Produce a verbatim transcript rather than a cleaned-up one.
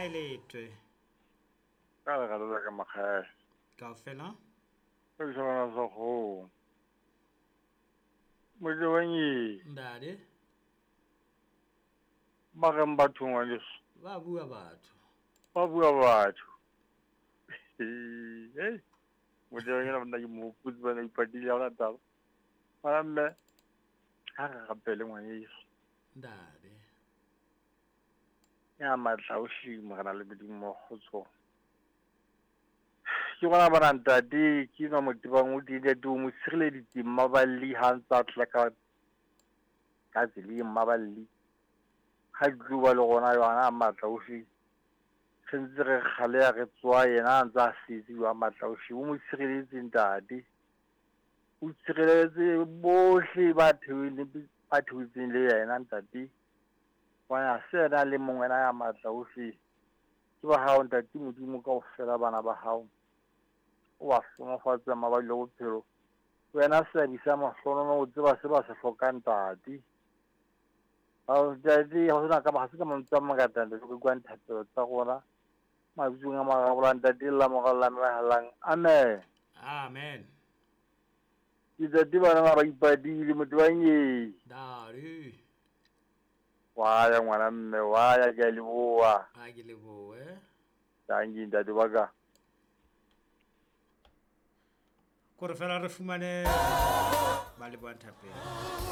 Makgeletwe. Ka lerato la ka makgele. Kaofela? Ka ditholwana sa kgomo. Motebanye. Ndade. Ba reng batho ngwaneso? Ba bua batho. Ba bua batho. Hey. Motebanye na mna ke mo hopotse bana ipatile ha hona taba. Ngwana mme, ha re rapele ngwaneso. Ndade. Ya matla ohle Morena le Modimo wa kgotso. Ke bona bana ntate ke nwa motebang o teng ntate o mo tshireleditse mmaballi ha ntsa tla ka ka tseleng mmaballi. Ha di tlo ba le rona yona a matla ohle. Re ntse re kgaleha re tswa yena a ntsa a setse wa matla ohle. O mo tshireletse ntate. O tshireletse bohle ba theohileng ba theohetseng le yena ntate. Hobane ha se yena a le mong wena ya matla ohle. Ke ba hao ntate Modimo kaofela bana ba hao. O ba hlohonolofatse mabapi le bophelo. Wena seabi sa mahlohonolo o tseba se ba se hlokang ntate. Ao ntate ha hona ka ha se ka mantswe a mangata ntate re utlwang thapelo tsa rona. Mabitsong a mararo ntate la moralo la mehalang. Amen. Amen. Ke ntate bana ba ipatile motebanye. Dare. Wa ya ngwana mme wa ya ke a leboha. Ha ke lebohe. Tanki ntate wa ka. Kore fela re fumane ba lebohang thapelo.